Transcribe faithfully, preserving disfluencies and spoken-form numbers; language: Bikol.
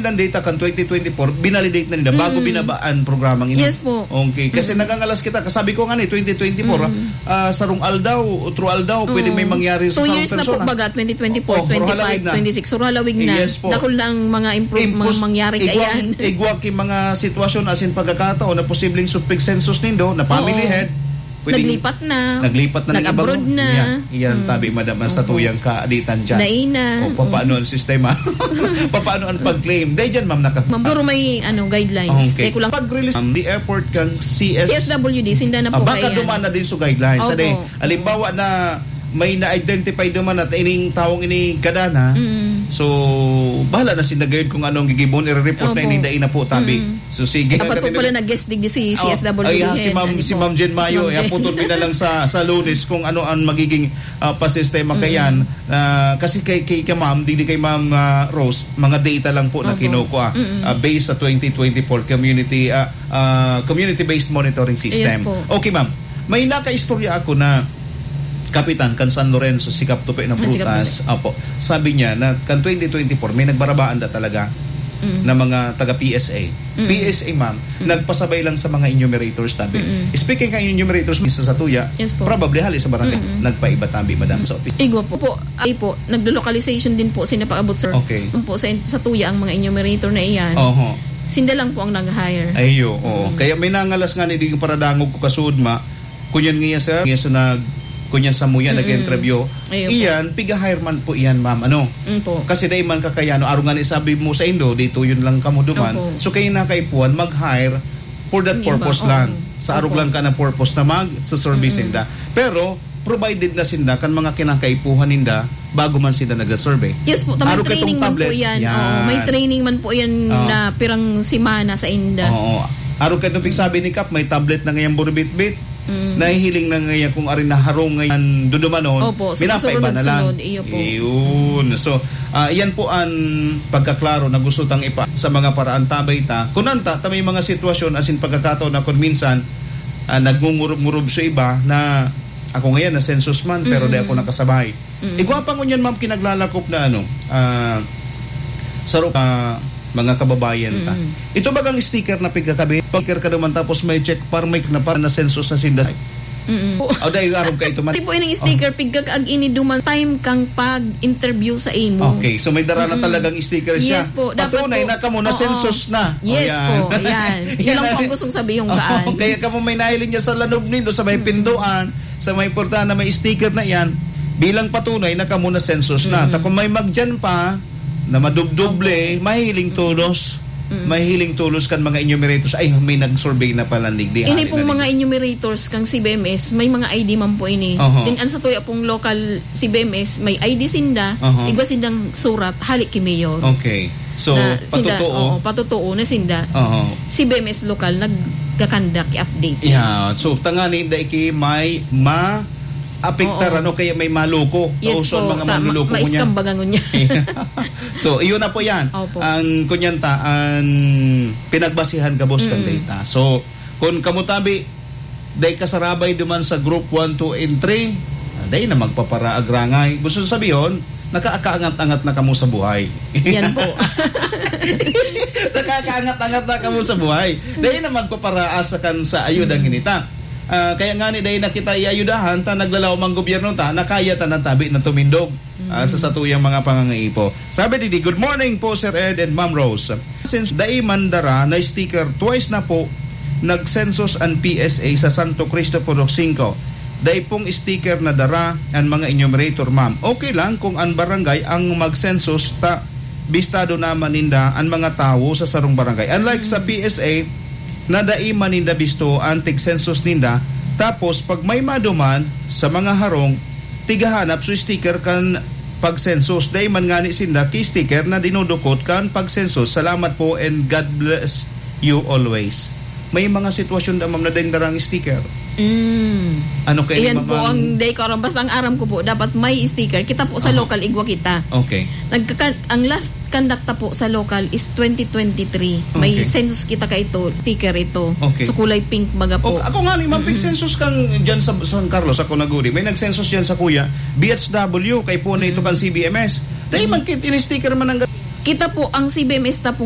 Ang data kan twenty twenty-four, binalidate na nila bago Mm. binaba ang programang ini. Yes po. Okay. Kasi Mm. nagangalas kita. Kasabi ko nga ni, twenty twenty-four, Mm. ah, sarong aldaw, otro aldaw, pwede Oo. may mangyari sa Two sarong years na po persona. Baga, twenty twenty-four, Oh, oh, twenty-five, halawig na. twenty-six. So, halawig na. Yes po. Dakul na ang mga improve, mga Impos-, mangyari igwang, kaiyan. igwang ki mga sitwasyon, as in pagkakataon na posibleng supig census nindo, na family Oo. head, pwedeng Naglipat na. naglipat na ng Nag-abroad ibang na. Yan, yan, Mm. tabi, madam, ang Opo. satuyang kaaditan dyan. Dai na. O, papaano Mm. ang sistema? Papaano ang pag-claim? Dahil dyan, ma'am, naka- Ma'am, siguro may, ano, guidelines. Okay. Dai ko lang Pag-release, ma'am, the airport kang C S C S W D, sinda na Ah, po baka kaya yan. duman na din sa guidelines. Opo. Sa di, halimbawa na may na-identify duman at ining taong ini kadana, Mm. so, bahala na sinda gayud kung anong gigibon, i-report na Opo. ini, dai na po, tabi. Mm. So, sige. Dapat po Kasi pala nag- nag-guest digdi si Oh, C S W D ay, ah, si head, Ma'am, ano si po. Ma'am Jen Mayo, Si Ma'am eh, Jen. putol mi na lang sa, sa Lunes kung ano ang magiging, ah, pasistema Mm. kayan. Ah, kasi kay, kay, kay Ma'am, di, di kay Ma'am, ah, Rose, mga data lang po na Opo. kinukuha, Mm. ah, based sa twenty twenty-four community, ah, ah, community-based monitoring system. Yes po. Okay, Ma'am. May nakaistorya ako na kapitan kan San Lorenzo, si Kap Tupi ng Ah, si Kap Prutas. Tupi. Opo. Sabi niya na kan twenty twenty-four, may nagbarabaan da talaga Mm. na mga taga P S A. Mm. P S A, ma'am, Mm. nagpasabay lang sa mga enumerators, tabi. Mm. Speaking kan enumerators, minsan sa tuya, Yes po. probably hali sa barangay, Mm-mm. nagpaiba tabi, madam, sa office. Igwa po. Po, ay po, naglo-localization din po sila pag-abot, sir. Okay. Yun po, sa, sa tuya ang mga enumerator na iyan. Oho. Sinda lang po ang nag-hire. Ayo, oo. Mm. Kaya may nangalas nga ni di paradangog ko kasud, ma. Kunyan nga, sir, nga sa nag-, kunyan sa muya, Mm-mm. nag-interview. Ayo po. Iyan, piga-hire man po iyan, ma'am. Ano? Mm po. Kasi dai man kakayano, araw nga ni sabi mo sa indo, dito yun lang kamo duman. Opo. So, kayo na kaipuhan, mag-hire for that Yung iba, purpose lang. oo. Sa arog Opo. lang ka ng purpose na mag-, sa service Mm-mm. ninda. Pero, provided na sinda kan mga kinakaipuhan ninda bago man sinda nag-survey. Yes po, may Arog ka itong training man po tablet. yan. Yan. Oo, may training man po yan Oo. na pirang semana sa inda. Oo. Arog ka itong pigsabi ni Kap, may tablet na ngayang buribitbit. Mm. Nahihiling na ngayon kung arin na harong ngayon dudumanon, Opo, so minapaiba na lang. Sunod-sunod, iyo po. Iyon. So, ah, iyan po ang pagkaklaro na gusto tang ipa sa mga paraan tabay ta. Kung anta, ta may mga sitwasyon, as in pagkakataon na kung minsan, ah, nagngungurob-ngurob sa iba na ako ngayon na census man, pero di ako Mm. nakasabay. Mm. Igwa pa ngunyan, ma'am, kinaglalakop na ano, ah, saro ka mga kababayan ta. Mm. Ito bagang sticker na pigkakabit, sticker ka naman tapos may check par, may na par na census na sinda. Mm. O, dahil arog ka ito man. Tipo ining sticker, Oh. pigkag ag ini duman time kang pag-interview sa imo. Okay, so may dara na Mm-mm. talagang sticker siya. Yes po, dapat Patunay po. na kamo na Oo. census na. Yes O, yan. po, yan. Yun Yan lang po ang ang gustong sabihin kong Oo, gaan. kaya kamo may nahiling niya sa lanob nindo, sa may Mm. pinduan, sa may portahan na may sticker na yan, bilang patunay na kamo na census na. Mm. Ta kung may magdiyan pa, na madubdoble, Opo. mahihiling Mm. tolos. Mm. Mahihiling tolos kan mga enumerators. Ay, may nag-survey na pala, digdi. Ini Hari pong na mga digdi. enumerators kang C B M S, may mga I D man po ini. Oho. Din ang sa tuya pong local C B M S, may I D sinda, Oho. igwa sindang surat, hali ki Mayor. Okay. So, Na sinda, patotoo? oo, patotoo na sinda. Oho. C B M S lokal, nagkakandak, i-update. Yeah. So, tangani, dai ki may ma-apektar, Oo. ano, kaya may maluko. Yes Kauson po. mga Ta-, ma-, manluluko ko niya. maiskambagan ko niya. So, iyon na po yan. Opo. Ang kunyanta, ang pinagbasihan gabos kan Mm. data. So, kung kamo tabi, dai kasarabay duman sa group one, two, and three, ah, dai na magpaparaag rangay. Gusto sabihon, nakaakaangat-angat na kamo sa buhay. Yan po. Nakakaangat-angat na kamo sa buhay. Dai na magpaparaas sa kan-, sa ayuda Mm. ginita. Ah, kaya nga ni dai na kita iayudahan, ta naglalaom ang gobyerno ta, na kaya ta nang tabi na tumindog, ah, sa Mm. satuyang mga pangangaipo. Sabi digdi, "Good morning po, Sir Ed and Ma'am Rose. Since dai man dara na sticker, twice na po nag-census an P S A sa Santo Cristo, Purok singko. Dai pong sticker na dara an mga enumerator, ma'am. Okay lang kung an barangay ang mag-census, ta bistado naman ninda an mga tawo sa sarong barangay. Unlike sa Mm. P S A, na dai man ninda bisto an tig-census ninda, tapos pag may maduman sa mga harong, tigahanap so sticker kan pag-census. Dai man ngani sinda ki sticker na dinudukot kan pag-census. Salamat po and God bless you always." May mga sitwasyon da, ma'am, na dai darang sticker. Mm. Ano kayo Iyan mga po ang dai ko aram. Basta ang aram ko po, dapat may sticker. Kita po sa Aha. local, igwa kita. Okay. Nagkaka-, ang last conduct ta po sa local is twenty twenty-three. May Okay. census kita ka ito, sticker ito. Okay. So, kulay pink baga po. O, ako nga ni, ma'am, Mm-mm. pig-census kang dyan sa San Carlos, ako naguri. May nag-census dyan sa kuya, B H W, kay po na ito Mm-mm. kang C B M S. Dahil Mm-mm. man kit-, ini-sticker man ang ga- Kita po, ang C B M S ta po